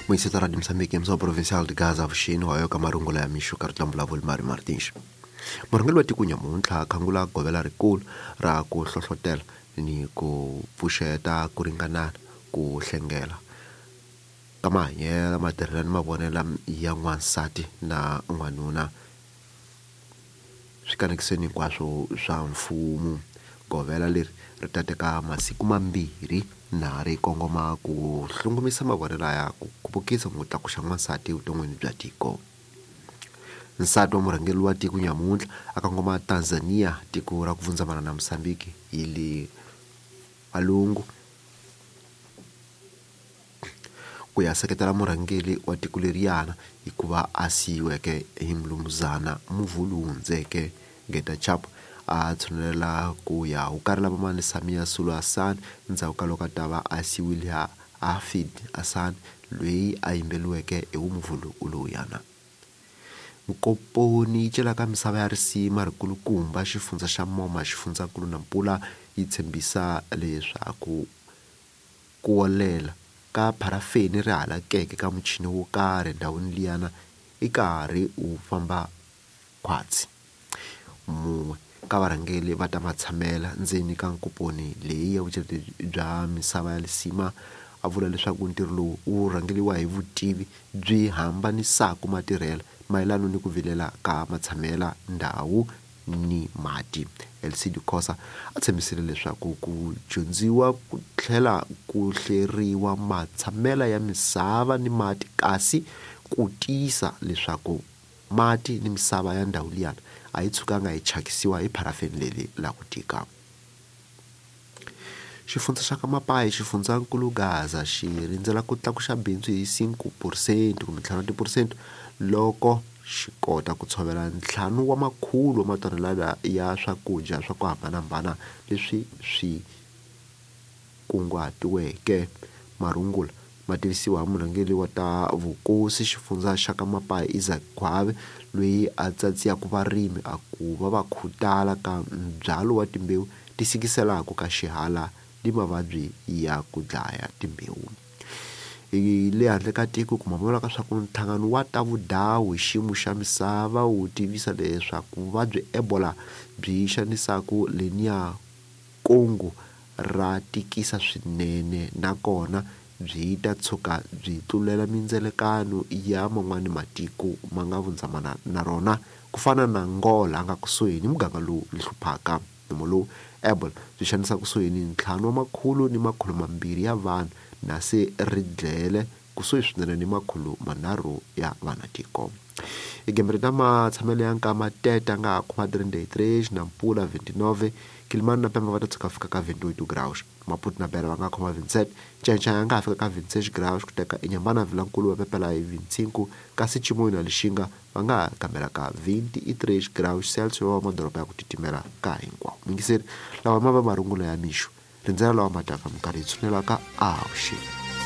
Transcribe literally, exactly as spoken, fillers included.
Municipal de Moçambique, mso provincial de Gaza vuxini wa ka marungula ya mixo ka ri vulavuli Mari Martins. Murhangeri wa tiko nyamuntlha khangula govela rikulu ra ku hlohlotela ni ku pfuxeta ku ringanana ku hlengela ka mahanyelo matirhelo ni mavonelo ya n'wansati na n'wanuna swikanekiseni hinkwaswo swa mfumo. Govela leri ri ta teka masiku mambirhi na ri kongoma ku hlongomisa mavonelo ya ku khupukisa ku tlakuxa n'wansati evuton'wini bya tiko. Nsati wa murhangeri wa tiko nyamuntlha a kongoma Tanzania, tiko ra ku vundzamana na Mozambique hi le valungu, ku ya seketela murhangeri wa tiko leriyana hikuva a siyiweke hi mulumuzana muvhulu wu hundzeke Geta Chap a tshunelela ku ya hukarela vamani Samia Suluhu Hassan ndzhaku ka loko a ta va a siyiwile ha Hafid Hassan loyi a yimbeliweke hi wumuvhulu lowuyana. Nkomponi yi celaka misava ya risima rikulukumba xifundza xa Moma xifundzankulu na Mpula yi tshembisa leswaku ku wolela ka pharafeni ri halakeke ka muchini wo karhi endhawini liyana i karhi wu famba khwatsi. Mun'we ka varhangeri va ta matshamela ndzeni ka nkomponi leyi ya vuceti bya misava ya lisima a vula leswaku ntirho lowu wu rhangeriwa hi vutivi byi hambanisaka matirhelo mayelana ni ku vilela ka matshamela ndhawu ni mati. L C D Khosa a tshembisile leswaku ku dyondziwa ku tlhela ku hleriwa matshamela ya misava ni mati kasi ku tiyisa leswaku mati ni misava ya ndhawu liyana a yi tshukanga yi thyakisiwa hi pharafeni leri la ku tika. Xifundza xa ka Mapayi xifundzankulu Gaza xi rindzela ku tlakuxa bindzu hi cinco percent kumbe ntlhanu wa tiphesente loko xi kota ku tshovela ntlhanu wa makhulu wa matonelada ya swakudya swa ku hambanahambana leswi swi kunguhatiweke. Marungula ma tivisiwa hi murhangeri wa ta vukosi xifundza xa ka Mapayi Isaac Khwabe loyi a tsatsiyaka varimi a ku va va khutala ka nbyalo wa timbewu ti sikiselaka ka xihala ni mavabyi ya ku dlaya timbewu. Hi le handle ka tiko ku mavonelo ka swa ku nhlangano wa ta vudawu hi xiyimo xa misava wu tivisa leswaku vuvabyi Ebola byi xanisaku leniya Kongo ra tikisa swinene nakona byi ta tshuka byi tlulela mindzelekano ya man'wani matiko ma nga vundzamana na rona ku fana na Angola a nga kusuhi ni muganga lowu hluphaka. Nomo lowu Ebola byi xanisa kusuhi ni ntlhanu wa makhulu ni makhulu mambirhi ya vanhu na se ri dlele kusuhi swinene ni makhulu manharhu ya vanatiko. Igembe ta matshamelo ya nkama Tete nga ha khoma trinta e três, Nampula vinte e nove, Quelimane na Pemba va ta tshuka fika ka vinte e oito graus, Maputo na Beira va nga khoma vinte e sete, Ncencea ya nga ha fika ka vinte e seis graus, ku teka Inhambane na Vilankulu va pepela hi vinte e cinco, kasi Chimoio na Lixinga va nga ha kambela ka vinte e três graus Celsius wa madoroba ya ku titimela ka hinkwawo. Mingiseri lawa ma va marungula ya mixo rindzela lawa ma taka minkarhi yi tshunelaka avuxeni.